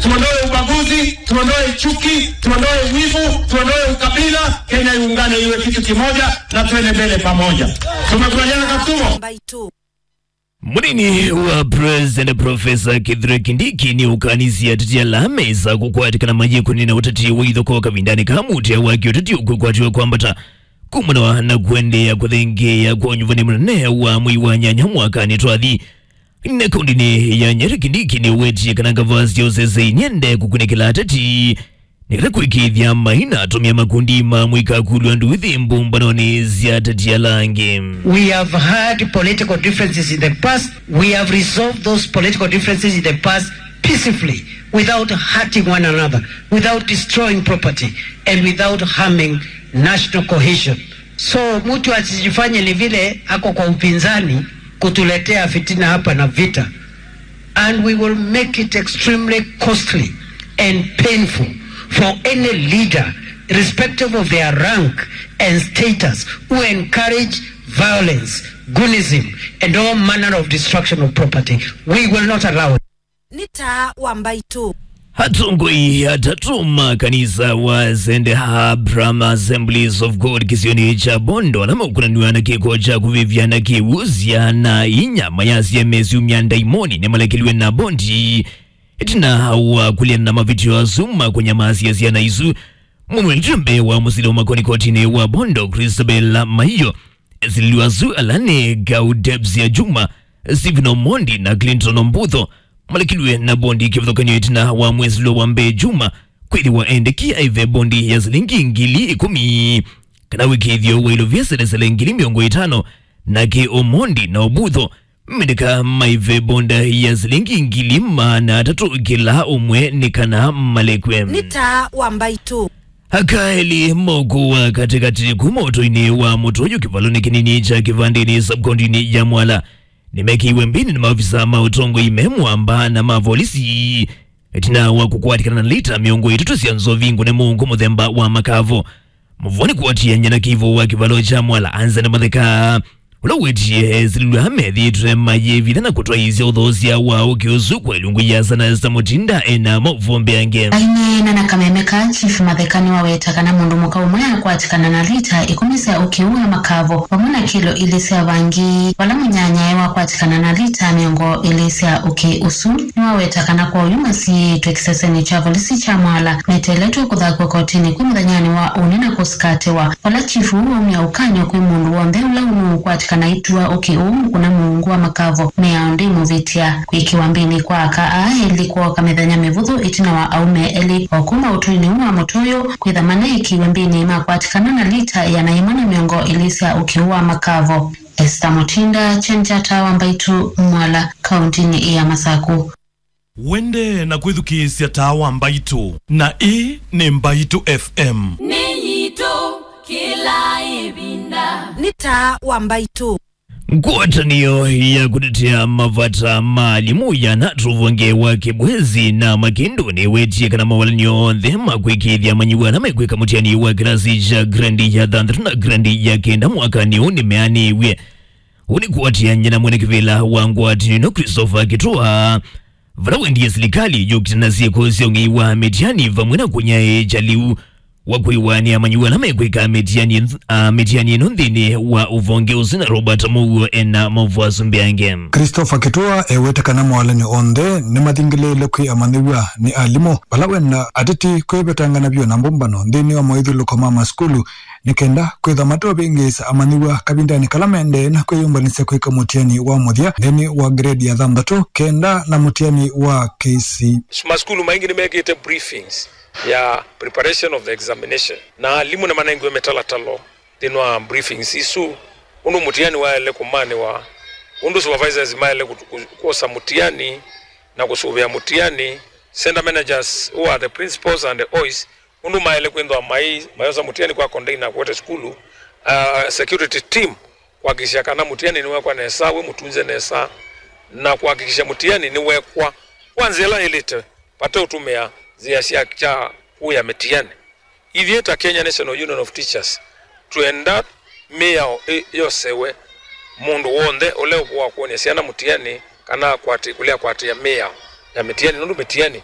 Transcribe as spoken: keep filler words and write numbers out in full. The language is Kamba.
Tuondoe ubaguzi, tuondoe chuki, tuondoe wivu, tuondoe ukabila. Kenya iungane iwe kitu kimoja na tuende mbele pamoja. Tumekubaliana, Katumo? Mbaitũ. Mũnini wa President Professor Kithure Kindiki nĩũkanisye ateti ala mesa kũkwatĩkana mayĩkũnĩ na ũteti wa ithokoo kavindanĩ ka mũtĩa wa kĩũteti ũkwĩkwatĩwa kwambata kumana na kũendeea kũthengeea kwa ũnyuvani mũnene wa mwei wa nyanya mwakanĩ twathi. Na kaũndĩnĩ ya Nyeri, Kindiki nĩwetie kana ngavasi ya ũsesei nĩendee kũkunĩkĩla ateti nĩ kenda kũĩkĩĩthya maina atũmĩa makundi ma mũikakulwa nduthi mbũmbanonĩ sya ateti ala angĩ. We have had political differences in the past. We have resolved those political differences in the past peacefully, without hurting one another, without destroying property, and without harming national cohesion. So mtu asijifanye ni vile ako kwa upinzani kutuletea fitina hapa na vita. And we will make it extremely costly and painful for any leader, irrespective of their rank and status, who encourage violence, goonism, and all manner of destruction of property. We will not allow it. Nĩ taa wa Mbaitũ. Atongoi atatũ ma kanisa wa Saint Abraham Assemblies of God kĩsionĩ kya Bondo ala maũkunanw'a na kĩko kya kũvĩvya na kĩw'ũ sya na inya mayasya mesyumya ndaimoni nĩmalekeliwe na bondi ĩtina wa kũleana na mavĩtyo asu ma kũnyamasya syana isu. Mũnwelitwe mbee wa mũsili wa makoni kotinĩ wa Bondo, Christabel Maiyo, esililw'a asu ala nĩ Gaudebsia Juma, Stephen Omondi na Clinton Ombutho. Malekilw'e na bondi kĩvathũkany'o ĩtina wa mwĩsilwa wa mbee Juma kwĩthĩwa endeki aive bondi ya silingi ngili ĩkũmi kana wĩkĩĩthyo wa ilovia selesele ngili mĩongo ĩtano, nake Omondi na Ombutho mendeka maive bondi ya silingi ngili maana atatũ kĩla ũmwe nĩ kana malekwe. Nĩ taa wa Mbaitũ. Aka elĩ ma ũkũũ wa katĩkatĩ kuma ũtũinĩ wa Mũtũyũ kĩvalonĩ kĩnini kya Kĩvandĩnĩ sub-kaũntĩnĩ ya Mwala nĩmekĩiwe mbĩnĩ nĩ maovisa ma ũtongoi me mũamba na ma volisi ĩtina wa kũkwatĩkana na lita mĩongo ĩtatũ sya nzovi ngũne mũungu mũthemba wa makavo. Mũvũanĩ kũatĩanĩa na kĩivo wa kĩvalo kya Mwala, Anzani Matheka, ũla wĩtie esililw'a methĩĩtwe mayĩvitha na kũtwaĩĩsya ũthoosya wa ũkĩ ũsu kwa ilungu ya sana Esther Mutinda ena maũvoo mbeange. Aineena na kameme ka Chief Matheka nĩwaweta kana mũndũ mũka ũmwe akwatĩkana na lita ĩkũmi sya ũkĩ ũũ wa makavo vamwe na kilo ilĩ sya vangi, vala mũnyanyae wakwatĩkana na lita mĩongo ĩlĩ sya ũkĩ ũsu. Nĩwaweta kana kwa oyu masiĩĩtwe kĩsesenĩ kya volisi kya Mwala meteeletwe kũthakw'a kotinĩ kwĩ mũthenyanĩ wa ũnĩ na kũsikatĩwa. Vala chifu ũu waumya ũkany'o kwĩ mũndũ w'onthe ũla ũnũũkwatĩkana aitua ũkĩ ũũ mũkũna mũungu wa makavo, mĩao ndĩmũvĩtya. Kwĩkĩwa mbĩnĩ kwa aka aa elĩ kwooka mĩthenya mĩvũthũ ĩtina wa aũme elĩ o kuma ũtũinĩ ũũ wa Mũtũyũ kwĩtha maneekĩiwe mbĩnĩ makwatĩkana na lita ĩana yĩmwe na mĩongo ĩlĩ sya ũkĩ ũũ wa makavo. Esther Mutinda, Chenjata wa Mbaitũ, Mwala, kaũntĩnĩ ya Masaku. Wende na kwĩthukĩĩsya taa wa Mbaitũ, na ĩĩ nĩ Mbaitũ F M. Nĩ yitũ kĩla ĩvinda. Nĩ taa wa Mbaitũ. Ngwatanĩo ya kũtetea mavata ma alimũ yana tũvonge wa Kĩbwezi na Makĩndũ nĩwetie kana mawalany'o onthe ma kwĩkĩĩthya amanyĩw'a ala mekwĩka mũtiani wa kĩlasi kya grade ya thanthatũ na grade ya kenda mwakanĩ ũũ nĩmeanĩw'e. Ũũ nĩ kũatĩanĩa na mwene kĩvĩla wa ngwatanĩo ĩno, Christopher Kĩtũa, vala wendie silikalĩ yũkite na syĩko sya ũng'ei wa mĩtiani vamwe na kũnyaĩĩkya lĩu wa kwĩw'anĩa amanyĩw'a ala mekwĩka mĩtiani, a, mĩtiani ĩno nthĩnĩ wa ũvonge ũsu, na Robert Mũuo ena maũvoo asu mbeange. Christopher Kĩtũa ewete kana mawalany'o onthe nĩmathingĩlĩĩle kwĩ amanyĩw'a nĩ alimũ vala wenda ateti kwĩvetangana vyũ na mbũmbano nthĩnĩ wa maũithyũlũko ma masukulu nĩ kenda kwĩtha mateũvĩngĩĩsa amanyĩw'a kavindanĩ kala maendee na kwĩyũmbanĩsya kwĩka mũtiani wa mũthya nthĩnĩ wa grade ya thanthatũ kenda na mũtiani wa K C. Masukulu maingĩ nĩmekĩte briefings ya preparation of the examination, na alimũ nĩmanengiwe mĩtalatalo nthĩnĩ wa briefings isu, ũndũ mũtiani waĩle kũmanĩwa, ũndũ supervisors maĩle kũ-, kũ-, kwosa mũtiani na kũsũvĩa mũtiani, center managers, who are the principals and the O Is, ũndũ maĩle kwĩthĩwa mai-, mayosa mũtiani kwa container kũete sukulu, uh, security team kũhakikisha kana mũtiani nĩwekwa nesa, wĩ mũtunze nesa, na kũhakikisha mũtiani nĩwekwa kwa nzĩa ĩla ĩlĩte vate ũtũmĩa nzĩa sya kya kũya mĩtiani. Ithyĩ ta Kenya National Union of Teachers, twenda mĩao ĩ-, yosewe mũndũ w'onthe ũla ũkũa kwony'a syana mũtiani kana akwatĩ-, kũlea kwatĩa mĩao ya mĩtiani, nũndũ mĩtiani